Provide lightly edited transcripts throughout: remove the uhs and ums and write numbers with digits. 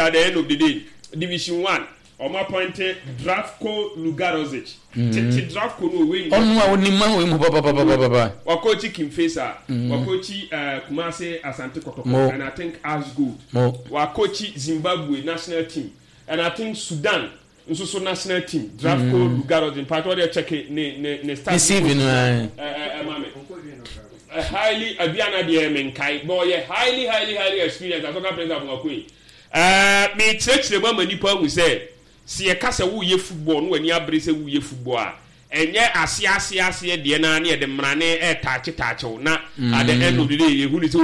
At the end of the day, Division One, wɔn appointe Dravko Lugarozic. Tete Dravko no owe nyina. Ɔno a onim ma oyi mu papapapapapa. Wakɔɔkyi King Faisal, wakɔɔkyi Kumasi Asante Kɔtɔkɔ and I think Ash Gold. Wakɔɔkyi Zimbabwe national team and I think Sudan nso so national team. Dravko Lugarozic, mpakyɛ ɔdeɛ check ne ne ne start. Ne CV no ae. Ɛma me. Highly, Aduana deɛ menkae, but ɔyɛ highly highly highly experienced Asɔka Prince Amoakoye. Ɛɛ, merekyerɛkyerɛ mu ama nnipa ahu sɛ, sɛ yɛka sɛ woreyɛ football na w'ani abere sɛ woreyɛ football a, ɛnyɛ aseɛ aseɛ aseɛ deɛ no ara na yɛde mmrane retaakye taakye wo na at the end of the day yɛhu no sɛ oh,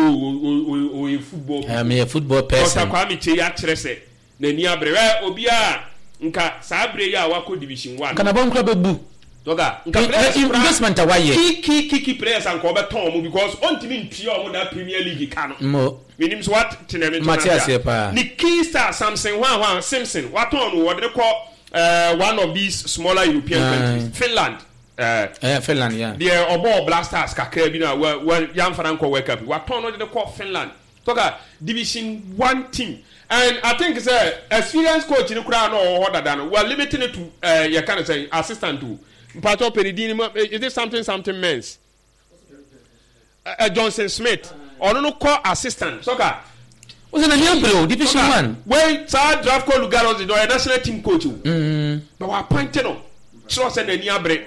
o, o, ɔyɛ football people. Meyɛ football person. Doctor Kwame Kyei akyerɛ sɛ n'ani abere. Hwɛ, obiara a nka saa berɛ yi a wakɔ Division One Nka no. n'abam koraa bɛbu. Dɔga, nka players koraa. Investment a wayɛ. Key key key key players a nka ɔbɛtɔn wɔn because ɔntumi ntua wɔn that Premier League ka no. Mo. Menim sɛ woate nea mekyerɛ no Mate ase a. aseɛ paa. Ne key star Samson hwan hwan, Simpson, watɔn no, wɔde no kɔ eh, one of these smaller European countries, Finland. Eh, Eh, Finland, yeah. Deɛ ɔbɔɔ Black Stars kakra bi no a wa, wa, yɛamfa no ankɔ World Cup yi, watɔn no de no kɔ Finland. Soccer Division One team and I think sɛ experienced coach no koraa na ɔwɔ hɔ dada no, wa limit no to eh, yɛka no sɛn, assistant o. Mpakyɛw pɛ ne din no ma, is it something something Mens? Eh, Johnson Smith, ɔno no kɔ assistant soccer. O sɛ n'ani abere o, Division One. Wei saa Dravko Lugarovic ɔyɛ national team coach o. But wa appoint no kyerɛ sɛ n'ani abere.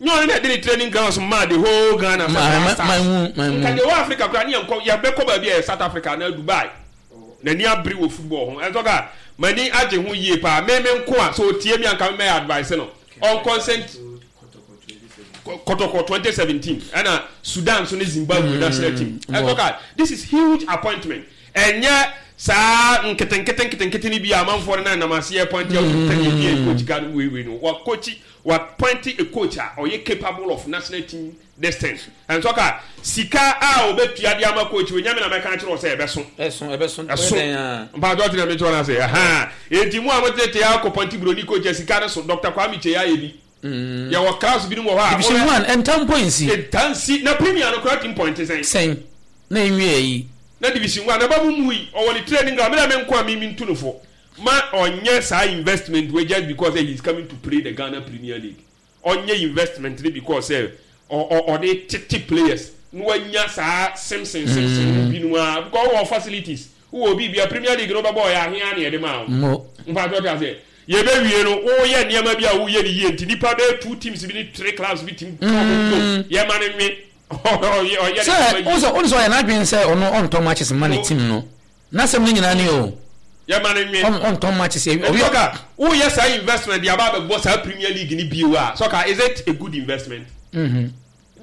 Nyɛ ɔno na ɛde ne training grounds maa the whole Ghana sɛ Black Stars. Nka deɛ ɛwɔ Africa koraa ne yɛnkɔ yɛbɛkɔ baabi a ɛyɛ South Africa anaa Dubai. N'ani abere wɔ football ho. Ɛnsɔ ka m'ani agye ho yie paa. Me me nko a sɛ ɔtie me a nka me mɛyɛ advice no. Ɔnkɔnsɛnt Kɔtɔkɔ 2017 ɛna Sudan nso ne Zimbabwe national team. Ɛnsɔ ka this is huge appointment. Ɛnyɛ saa nketenkete nketenkete no bi a amanfoɔ no nam aseɛ appoint a wɔn tɛn yɛ bi coach ka no wei wei no. Wɔ coach Wa appoint a coach a ɔyɛ capable of national team this thing. Ɛnsɔ ka sika a ɔbɛtua de ama coach wei nyɛ me na mɛka akyerɛ wo sɛ ɛbɛso. Ɛso, ɛbɛso, Ɛso. ɔyɛ dɛn a. Mpaatɔ ɔte na mekyerɛ no ase. Ɛhaa. Enti mo a motetee akɔ pɔnte buroni coach a sika no so, Doctor Kwame Kyei ayɛ bi. Yɛwɔ clubs binom wɔ hɔ a. Division one, ɛnta mpo nsi. Ɛnta nsi. Na premier no koraa team point sɛn? Sɛn? Na ɛnwie ayi. Na division one, naba mu mmui. Ɔwɔ ne training ground. Me deɛ me nko a me mentu no fo. Ma ɔnyɛ saa investment wei just because sɛ he is coming to play the Ghana Premier League. Ɔnyɛ investment no because sɛ ɔde tete players na wanya saa Simpson Simpson no binom a because wowɔ facilities, wowɔ biribia Premier League no wobɛbɔ ɔyɛ ahe ara na yɛde maa wo. Mpakyɛ wote aseɛ? Yɛbɛwie no woyɛ nneɛma bi a woyɛ no yie nti nnipa bɛyɛ two teams bi ne three clubs bi tim yɛma no nwe ɔyɛ ne Sɛ nneɛma wohu yie. sɛ wohu sɛ ɔyɛ n'adwene sɛ ɔno ɔntɔ matches mma ne team no. N'asɛm no nyinaa ni o. Yɛma no nwe. Ɔntɔn matches. Nti soccer, woyɛ saa investment de aba abɛbɔ saa Premier League no bio a, soccer, is it a good investment? Nti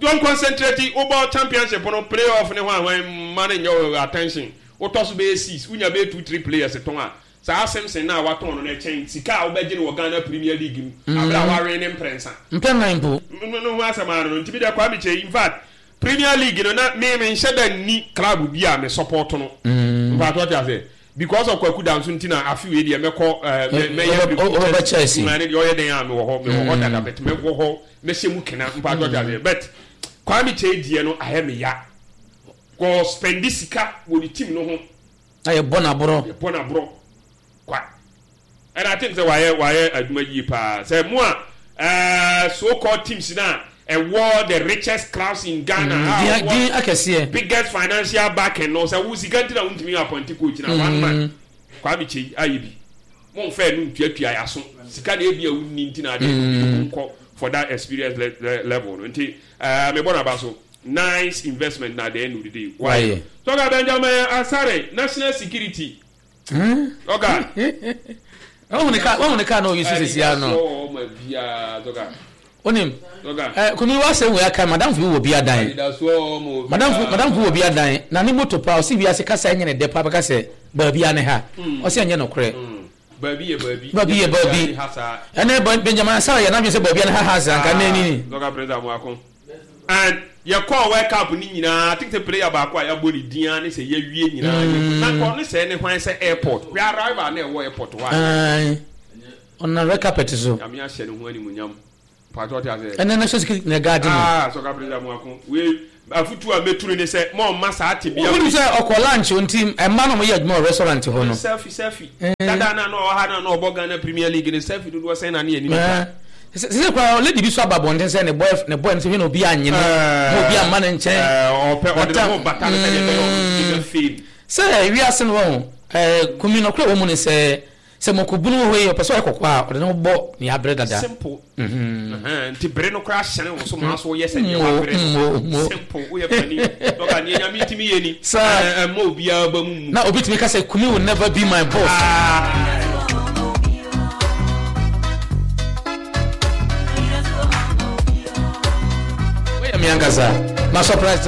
wɔn concentrate, wobɔ championship no, play off ne hwan hwan mma no nyɛ wo attention. Wotɔ so bɛyɛ six, wonya bɛyɛ two, three players tɔn a, saa Simpson no a watɔn no no ɛkyɛn sika a wobɛgye no wɔ Ghana Premier League mu abere a wawen ne mprɛnsa. Mpɛn nan mpo. No ho asɛm ara no no. Nti me deɛ Kwame Kyei, in fact, Premier league no na me me nhyɛ da nni club bi a me support no. Mpatsɔ ɔte aseɛ because of Kwaku Danso nti na afe wei deɛ mɛkɔ ɛɛ mɛ mɛyɛ Wobɛba Chelsea. Mɛ ne deɛ ɔyɛ den a mewɔ hɔ mewɔ hɔ dada but mɛwɔ hɔ mɛhyɛ mu kena mpatsɔ ɔte aseɛ but Kwame Kyei deɛ no ayɛ me ya kɔ spɛndi sika wɔ ne team no ho. Na yɛbɔ no aborɔ. Yɛbɔ no aborɔ kwa. And I think sɛ wayɛ wayɛ adwuma yie paa. Sɛ mo a ɛɛ so called teams na ɛwɔ the richest clubs in Ghana a Din wɔwɔ din akɛseɛ. biggest financial backing no sɛ wo sika nti na wontumi appoint coach na one man Kwame Kyei ayɛ bi. Mo nfa ɛno ntuatua yaso. Sika na ebi a wonni nti na adeɛ no bi nkɔ for that experience le le level no nti ɛɛ mebɔ n'aba so. Nice investment na at the end of the day wayɛ. Wayɛ. Tɔka Benjamin Asare national security. Ɔka. Wahu ne kaa wahu ne kaa na ɔyi so sisi ano. Onim. Ɛ kumi wa sɛ wei aka madamfo bi wɔ bi adan. Madamfo madamfo wɔ bi adan na ne moto paa ɔsi wiase kasa ɛnyɛ ne dɛ paa bɛka sɛ baabi a ne ha. Ɔsi ɛnyɛ nokorɛ. Baabi yɛ baabi. Baabi yɛ baabi. Ɛnɛ Benjamin Asare yɛ n'adwene sɛ baabi a ne ha ha sɛ anka n'ani ni. Dɔka President Amoako. And yɛkɔɔ World Cup no nyinaa, I think sɛ player baako a yɛabɔ ne din ara ne sɛ yɛawie nyinaa yɛhu. Na nka ɔno sɛɛ ne hwan sɛ airport. Hwɛ arrival na ɛwɔ airport hɔ a. Ae, ɔnam red carpet so. Nyame ahyɛ ne ho animuonyam. Mpakyɛ ɔte aseɛ. Ɛnɛ national security na ɛgaade no. Ah, Sɔka President Amoako. Wei, Afutuo a mɛtu no ne sɛ ma ɔmma saa tebea Wonim sɛ ɔkɔ lunch nti mmaa na wɔyɛ adwuma wɔ restaurant hɔ no. Selfie selfie dada no a na ɔwɔ ha no a na ɔbɔ Ghana Premier League no selfie dodoɔ sɛn na ne yɛne no twa. Sese koraa lady bi so aba abɔnten sɛ ne boy ne boy no sɛ hwɛ na obi annye no na obi amma ne nkyɛn. Ɔpɛ ɔde ne ho bata no sɛdeɛ ɛbɛyɛ ɔno nso bɛnya fame. Sɛ wiase no wɔn kumi nɔkorɛ wɔ mu ne sɛ Sɛ mɔkɔbunu wɔ hɔ yi, ɔpɛ sɛ ɔyɛ kɔkɔɔ a, ɔde ne ho bɔ nea abere dada. Simple. Ɛhɛn, nti bere no koraa hyɛne wo so maa so woyɛ sɛ nea wabere no. Simple, woyɛ panin. Dɔka, nea Nyame tumi yɛ ni. Saa. Ɛmma obiara ba mu mmu. Na obi tumi ka sɛ, Kumi will never be my boss. Woyɛ me ankasa. Ma surprise.